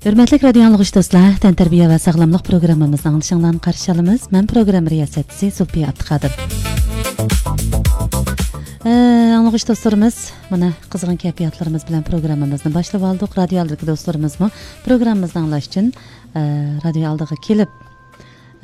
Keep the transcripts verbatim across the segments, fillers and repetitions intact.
ھۆرمەتلىك رادىيو ئاڭلىغۇچى دوستلار، تەنتەربىيە ۋە ساغلاملىق پروگراممىمىزنى ئاڭلىشىڭلارنى قارشى ئالىمىز. مەن پروگرامما رىياسەتچىسى زۇلپىيە ئابدۇقادىر. ئە، ئاڭلىغۇچى دوستلىرىمىز، مانا قىزغىن كەيپىياتلىرىمىز بىلەن پروگراممىمىزنى باشلىۋالدۇق. رادىيو ئالدىدىكى دوستلىرىمىزمۇ پروگراممىمىزنى ئاڭلاش ئۈچۈن، ئە، رادىيو ئالدىغا كېلىپ،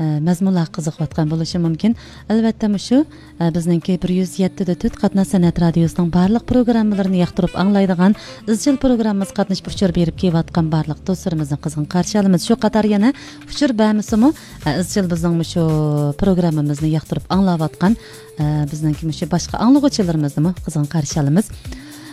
ئە، مەزمۇنلارغا قىزىقىۋاتقان بولۇشى مۇمكىن. ئەلۋەتتە، مۇشۇ، ئە، بىزنىڭكى بىر يۈز يەتتە دە تۆت قاتناش سەنئەت رادىيوسىنىڭ بارلىق پروگراممىلىرىنى ياقتۇرۇپ ئاڭلايدىغان، ئىزچىل پروگراممىمىزغا قاتنىشىپ ئۇچۇر بېرىپ كېلىۋاتقان بارلىق دوستلىرىمىزنى قىزغىن قارشى ئالىمىز. شۇ قاتار يەنە ئۇچۇر بەرمىسىمۇ، ئە، ئىزچىل بىزنىڭ مۇشۇ پروگراممىمىزنى ياقتۇرۇپ ئاڭلاۋاتقان، ئە، بىزنىڭكى مۇشۇ باشقا ئاڭلىغۇچىلىرىمىزنىمۇ قىزغىن قارشى ئالىمىز.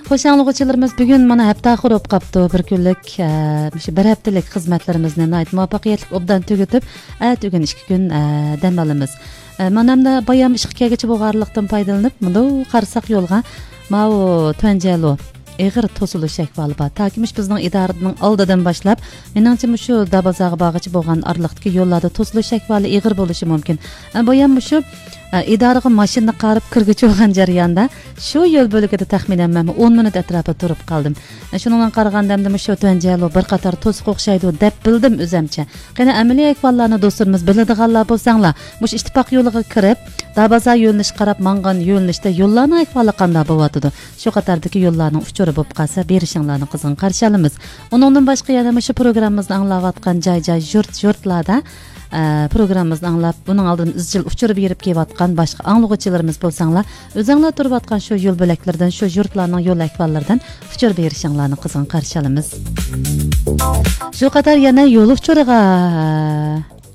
خوش، ئاڭلىغۇچىلىرىمىز، بۈگۈن مانا ھەپتە ئاخىرى بولۇپ قاپتۇ. بىر كۈنلۈك، ئە، مۇشۇ بىر ھەپتىلىك خىزمەتلىرىمىزنى ناھايىتى مۇۋەپپەقىيەتلىك ئوبدان تۈگىتىپ، ئەتىگۈن ئىككى كۈن، ئە، دەم ئالىمىز. ئە، مانا ئەمدى بايام ئىشقا كەلگۈچە بولغانلىقتىن پايدىلىنىپ، مۇنداق قارىساق يولغا، ماۋۇ تۇەنجيەلۇ ئېغىر توسۇلۇش ئەھۋالى بار. تاكى مۇشۇ بىزنىڭ ئىدارىنىڭ ئالدىدىن باشلاپ، مېنىڭچە مۇشۇ دابازاغا بارغۇچە بولغان ئارىلىقتىكى يوللاردا توسۇلۇش ئەھۋالى ئېغىر بولۇشى مۇمكىن. ئە، بايام مۇشۇ، ئە، ئىدارىغا ماشىنا قاراپ كىرگۈچە بولغان جەرياندا شۇ يول بۆلىكىدە تەخمىنەن مەنمۇ ئون مىنۇت ئەتراپىدا تۇرۇپ قالدىم. ئە، شۇنىڭغا قارىغاندا ئەمدى مۇشۇ تۇەنجيەلۇ بىر قاتار توسۇق ئوخشايدۇ دەپ بىلدىم ئۆزەمچە. قېنى ئەمەلىي ئەھۋاللارنى دوستلىرىمىز بىلىدىغانلار بولساڭلار، مۇشۇ ئىتتىپاق يولىغا كىرىپ، دابازا يۆنىلىشىگە قاراپ ماڭغان يۆنىلىشتە يوللارنىڭ ئەھۋالى قانداق بولۇۋاتىدۇ؟ شۇ قاتاردىكى يوللارنىڭ ئۇچۇرى بولۇپ قالسا، بېرىشىڭلارنى قىزغىن قارشى ئالىمىز. ئۇنىڭدىن باشقا يەنە مۇشۇ پروگراممىمىزنى ئاڭلاۋاتقان جاي-جاي، يۇرت-يۇرتلاردا، ئە، پروگراممىمىزنى ئاڭلاپ، بۇنىڭ ئالدىدا ئىزچىل ئۇچۇر بېرىپ كېلىۋاتقان باشقا ئاڭلىغۇچىلىرىمىز بولساڭلار، ئۆزۈڭلار تۇرۇۋاتقان شۇ يول بۆلەكلىرىدىن، شۇ يۇرتلارنىڭ يول ئەھۋاللىرىدىن ئۇچۇر بېرىشىڭلارنى قىزغىن قارشى ئالىمىز. شۇ قاتار يەنە يول ئۇچۇرىغا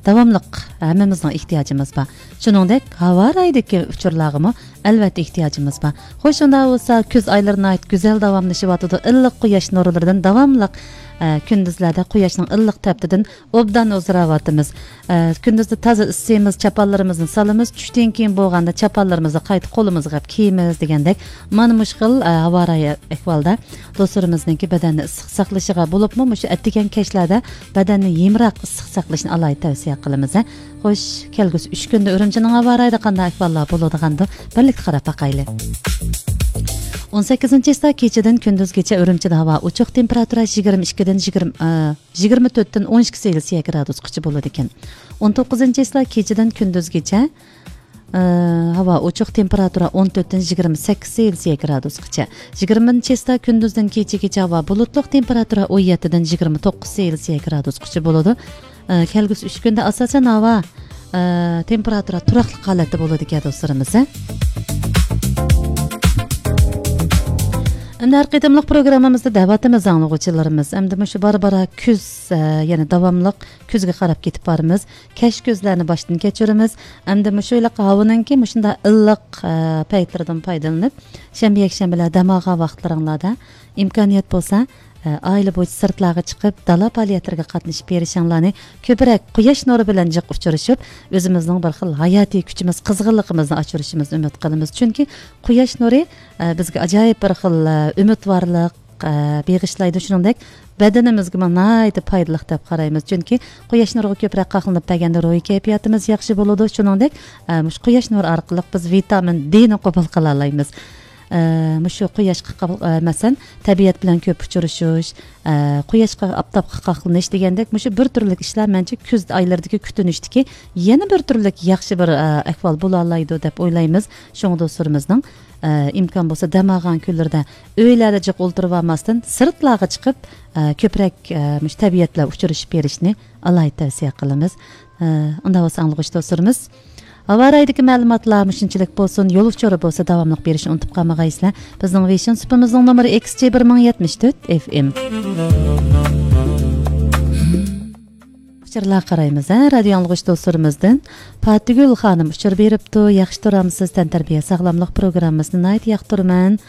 داۋاملىق ھەممىمىزنىڭ ئېھتىياجىمىز بار. شۇنىڭدەك ھاۋا رايىدىكى ئۇچۇرلارغىمۇ ئەلۋەتتە ئېھتىياجىمىز بار. خوش، شۇنداق بولسا كۈز ئايلىرى ناھايىتى گۈزەل داۋاملىشىۋاتىدۇ. ئىللىق قۇياش نۇرلىرىدىن داۋاملىق، ئە، كۈندۈزلەردە قۇياشنىڭ ئىللىق تەپتىدىن ئوبدان ئۇزىراۋاتىمىز. ئە، كۈندۈزدە تازا ئىسسىيمىز، چاپانلىرىمىزنى سالىمىز، چۈشتىن كېيىن بولغاندا چاپانلىرىمىزنى قايتا قولىمىزغا ئەپ كىيىمىز دېگەندەك، مانا مۇشۇ خىل، ئە، ھاۋا رايى ئەھۋالدا دوستلىرىمىزنىڭكى بەدەننى ئىسسىق ساقلىشىغا، بولۇپمۇ مۇشۇ ئەتىگەن كەچلەردە بەدەننى يېمىراق ئىسسىق ساقلىشىنى ئالاھىدە تەۋسىيە قىلىمىز، ھە. خوش، كەلگۈسى ئۈچ كۈندە ئۈرۈمچىنىڭ ھاۋا رايىدا قانداق ئەھۋاللار بولىدىغاندۇ، بىرلىكتە قاراپ باقايلى. ئون سەككىزىنچى چىسلا كېچىدىن كۈندۈزگىچە ئۈرۈمچىدە ھاۋا ئوچۇق، تېمپېراتۇرا يىگىرمە ئىككىدىن يىگىرمە، ئە، يىگىرمە تۆتتىن ئون ئىككى سېلسىيە گرادۇسقىچە بولىدىكەن. ئون توققۇزىنچى چىسلا كېچىدىن كۈندۈزگىچە، ئە، ھاۋا ئوچۇق، تېمپېراتۇرا ئون تۆتتىن يىگىرمە سەككىز سېلسىيە گرادۇسقىچە. يىگىرمىنچى چىسلا كۈندۈزدىن كېچىگىچە ھاۋا بۇلۇتلۇق، تېمپېراتۇرا ئون يەتتىدىن يىگىرمە توققۇز سېلسىيە گرادۇسقىچە بولىدۇ. ئە، كەلگۈسى ئۈچ كۈندە ئاساسەن ھاۋا، ئە، تېمپېراتۇرا تۇراقلىق ھالەتتە بولىدىكەن دوستلىرىمىز، ھە. ئەمدى ھەر قېتىملىق پروگراممىمىزدا دەۋاتىمىز ئاڭلىغۇچىلىرىمىز. ئەمدى مۇشۇ بارا-بارا كۈز، ئە، يەنە داۋاملىق كۈزگە قاراپ كېتىپ بارىمىز. كەچ كۈزلەرنى باشتىن كەچۈرىمىز. ئەمدى مۇشۇ ھېلىقى ھاۋىنىڭكى مۇشۇنداق ئىللىق، ئە، پەيتلىرىدىن پايدىلىنىپ، شەنبە، يەكشەنبىلەر دەم ئالغان ۋاقىتلىرىڭلاردا ئىمكانىيەت بولسا، ئە، ئائىلە بويىچە سىرتلارغا چىقىپ، دالا پائالىيەتلىرىگە قاتنىشىپ بېرىشىڭلارنى، كۆپرەك قۇياش نۇرى بىلەن جىق ئۇچرىشىپ، ئۆزىمىزنىڭ بىر خىل ھاياتىي كۈچىمىز، قىزغىنلىقىمىزنى ئاشۇرۇشىمىزنى ئۈمىد قىلىمىز. چۈنكى قۇياش نۇرى، ئە، بىزگە ئاجايىپ بىر خىل، ئە، ئۈمىدۋارلىق، ئە، بېغىشلايدۇ. شۇنىڭدەك بەدىنىمىزگىمۇ ناھايىتى پايدىلىق دەپ قارايمىز. چۈنكى قۇياش نۇرىغا كۆپرەك قاقلىنىپ بەرگەندە روھىي كەيپىياتىمىز ياخشى بولىدۇ. شۇنىڭدەك، ئە، مۇشۇ قۇياش نۇرى ئارقىلىق بىز ۋىتامىن دېنى قوبۇل قىلالايمىز. ئە، مۇشۇ قۇياشقا قا-، ئە، مەسىلەن، تەبىئەت بىلەن كۆپ ئۇچرىشىش، ئە، قۇياشقا، ئاپتاپقا قاقلىنىش دېگەندەك مۇشۇ بىر تۈرلۈك ئىشلار مەنچە كۈز ئايلىرىدىكى كۈتۈنۈشتىكى يەنە بىر تۈرلۈك ياخشى بىر، ئە، ئەھۋال بولالايدۇ دەپ ئويلايمىز. شۇڭا دوستلىرىمىزنىڭ، ئە، ئىمكان بولسا دەم ئالغان كۈنلىرىدە ئۆيلەردە جىق ئولتۇرۇۋالماستىن سىرتلارغا چىقىپ، ئە، كۆپرەك، ئە، مۇشۇ تەبىئەت بىلەن ئۇچرىشىپ بېرىشنى ئالاھىدە تەۋسىيە قىلىمىز. ئە، ئۇنداق بولسا ئاڭلىغۇچى دوستلىرىمىز، ھاۋا رايىدىكى مەلۇماتلار مۇشۇنچىلىك بولسۇن. يول ئۇچۇرى بولسا داۋاملىق بېرىشنى ئۇنتۇپ قالمىغايسىلەر. بىزنىڭ ۋېيشىن سۇپىمىزنىڭ نومۇرى ئېكس جى بىر مىڭ يەتمىش تۆت ئېف ئېم. ئۇچۇرلارغا قارايمىز، ھە، رادىيو ئاڭلىغۇچى دوستلىرىمىزدىن پاتىگۈل خانىم ئۇچۇر بېرىپتۇ. ياخشى تۇرامسىز؟ تەنتەربىيە ساغلاملىق پروگراممىسىنى ناھايىتى ياقتۇرىمەن.